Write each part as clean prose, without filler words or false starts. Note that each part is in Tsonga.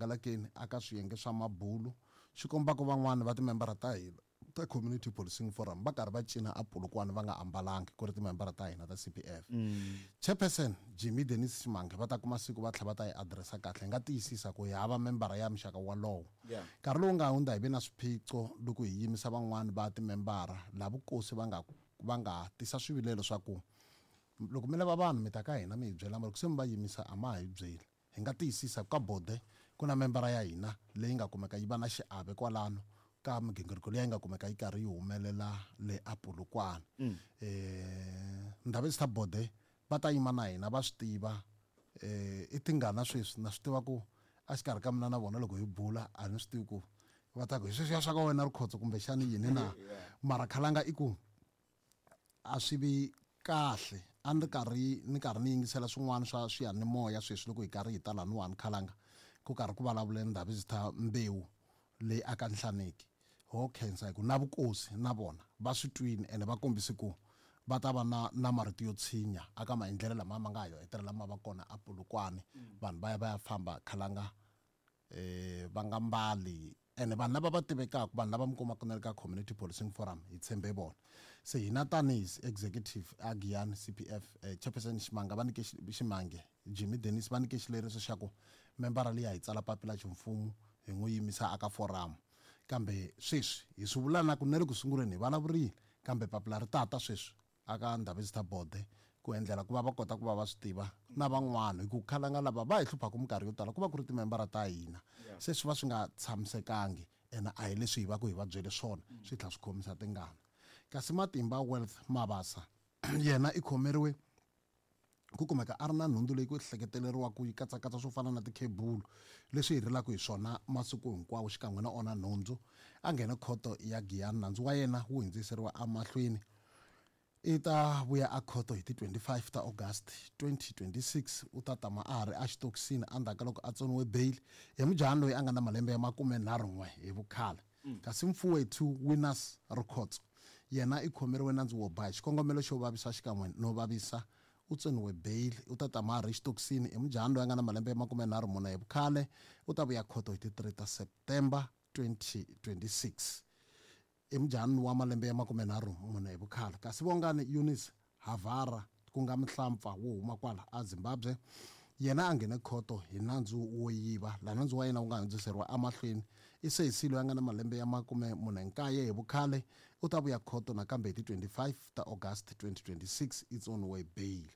hangalakeni aka swiyenge swa mabulu xi kombaka van'wana va timembara ta hina ta Community Policing Forum va karhi va cina a Polokwane va nga ambalangi ku ri timembara ta hina ta CPF. Chairperson Jimmy Dennis Ximange va ta kuma siku va tlhela va ta yi adiresa kahle. Hi nga tiyisisa ku hi hava membara ya muxaka walowo. Nkarhi lowu nga hundza hi ve na swiphiqo loko hi yimisa van'wana va timembara laha vukosi va nga va nga tisa swivilelo swa ku loko mi lava vanhu mi ta ka hina mi hi byela mara loko se mi va yimisa a ma ha hi byeli. Hi nga tiyisisa ku ka bode ku na membara ya hina leyi nga kumeka yi va na xiave kwalano ka migingiriko leyi nga kumeka yi karhi yi humelela le a Polokwane. Ndhavezitha Bode va ta yima na hina va swi tiva i tingana sweswi na swi tiva ku a xikarhi ka mina na vona loko hi bula a ni swi tivi ku va ta ku hi sweswiya swa ka wena Rikhotso kumbexani yini na mara khalanga i ku a swi vi kahle a ni ri karhi ni karhi ni yingisela swin'wana swa swiyanimoya sweswi loko hi karhi hi ta laniwani khalanga ku karhi ku vulavule Ndhavezitha Mbewu leyi aka Nhlaneki ho khensa hi ku na vukosi na vona va swi twini ene va kombise ku va ta va na na marito yo tshinya aka maendlelo lama ma nga ha yo hetelela ma va kona a Polokwane vanhu va ya va ya famba khalanga va nga mbali ene vanhu lava va tivekaka vanhu lava mi kumaka na le ka Community Policing Forum hi tshembe vona se hina tanihi executive a Giyani CPF chairperson Ximanga va nyike Ximange Jimmy Dennis va nyike xileriso xa ku membara liya hi tsala papila ximfumo hi n'wi yimisa aka forum kambe sweswi hi swi vula na ku na le ku sunguleni hi vulavurile kambe papila ri tata sweswi aka Ndhavezitha Bode ku endlela ku va va kota ku va va swi tiva na van'wana hi ku khalanga lava va hi hluphaka minkarhi yo tala ku va ku ri timembara ta hina se swi va swi nga tshamisekangi ene a hi leswi hi va ku hi va byele swona swi tlhela swi khomisa tingana kasi Matimba Wealth Mabasa yena i khomeriwe ku kumeka a ri na nhundzu leyi ku hleketeleriwaka yi katsakatsa swo fana na tikhebulu leswi hi rilaka hi swona masiku hinkwawo xikan'we na ona nhundzu a nghena khoto ya Giyani nandzu wa yena wu hundziseriwa emahlweni i ta vuya a khoto hi ti 25 ta August 2026 u ta tama a ha ri exitokisini endzhaku ka loko a tsoniwe bail hi mujahani loyi a nga na malembe ya 31 hi vukhale kasi Mfuwethu Winners Rikhotso yena i khomeriwe nandzu wo ba hi xikongomelo xo vavisa xikan'we no vavisa u tsoniwe bail u ta tama a ri exitokisini i mujahani loyi a nga na malembe ya 34 hi vukhale u ta vuya khoto hi ti 3 ta September 2026 i mujahani wa malembe ya 34 hi vukhale kasi Vongani Eunice Havara ku nga muhlampfa wo huma kwala a Zimbabwe yena a nghene khoto hi nandzu wo yiva laha nandzu wa yena wu nga hundziseriwa emahlweni i sesi loyi a nga na malembe ya 49 hi vukhale u ta vuya khoto nakambe hi ti 25 ta August 2026 i tsoniwe bail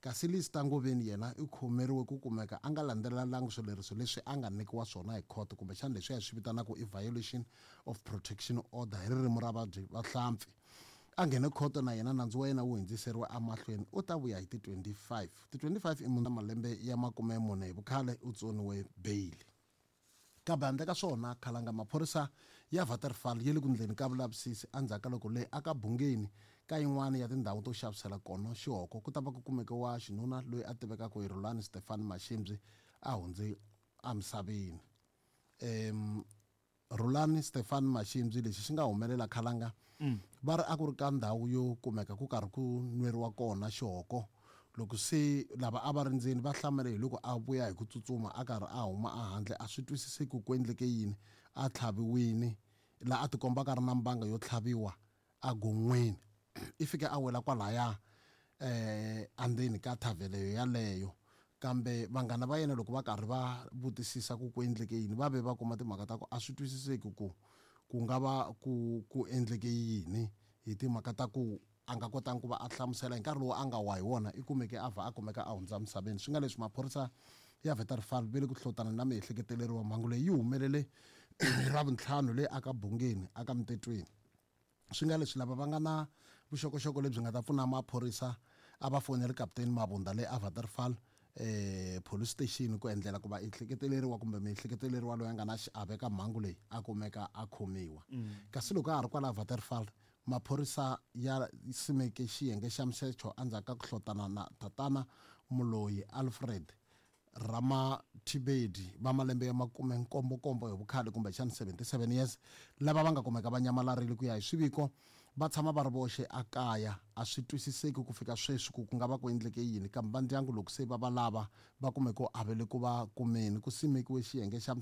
kasi Lista Ngoveni yena i khomeriwe ku kumeka a nga landzelelangi swileriso leswi a nga nyikiwa swona hi khoto kumbexana leswi hi swi vitanaka i violation of protection order hi ririmi ra vadyi vahlampfi a nghene khoto na yena nandzu wa yena wu hundziseriwa emahlweni u ta vuya hi ti 25 ti 25 i munhu malembe ya 40 hi vukhale u tsoniwe bail kambe handle ka swona khalanga maphorisa ya Waterval ya le ku ndleni ka vulavisisi endzhaku ka loko le aka Bungeni ka yin'wana ya tindhawu to xavisela kona xihoko ku ta va ku kumeke wa xinuna loyi a tivekaka hi Rhulani Stefan Mashimbyi a hundze emisaveni Rhulani Stefan Mashimbyi lexi xi nga humelela khalanga va ri a ku ri ka ndhawu yo kumeka ku karhi ku nweriwa kona xihoko loko se lava a va ri ndzeni va hlamele hi loko a vuya hi ku tsutsuma a karhi a huma a handle a swi twisiseki ku endleke yini a tlhaviwini laha a tikomba ka ri na mbanga yo tlhaviwa a gon'weni i fike a wela kwalaya endzeni ka thavhele yaleyo kambe vanghana va yena loko va karhi va vutisisa ku ku endleke yini va ve va kuma timhaka ta ku a swi twisiseki ku ku nga va ku ku endleke yini hi timhaka ta ku a nga kotangi ku va a hlamusela hi nkarhi lowu a nga wa hi wona i kumeke a vha a kumeka a hundza misaveni swi nga leswi maphorisa ya Waterval ve le ku hlotana na miehleketeleriwa mhangu leyi yi humelele hi Ravuntlhanu leyi aka Bungeni aka Mtetweni swi nga leswi lava va nga na vuxokoxoko lebyi nga ta pfuna maphorisa a va foneli kaputeni Mabunda le a Waterval police station ku endlela ku va ehleketeleriwa kumbe miehleketeleriwa loyi a nga na xiave ka mhangu leyi a kumeka a khomiwa kasi loko a ha ri kwala Waterval maphorisa ya simeke xiyenge xa misecho endzhaku ka ku hlotana na tatana Muloyi Alfred Ramathibedi va malembe ya 77 hi vukhale kumbexana 77 years lava va nga kumeka va nyamalarile ku ya hi swiviko va tshama va ri voxe a kaya a swi twisiseki ku fika sweswi ku ku nga va ku endleke yini kambe va ndyangu loko se va va lava va kume ku avele ku va kumeni ku simekiwe xiyenge xa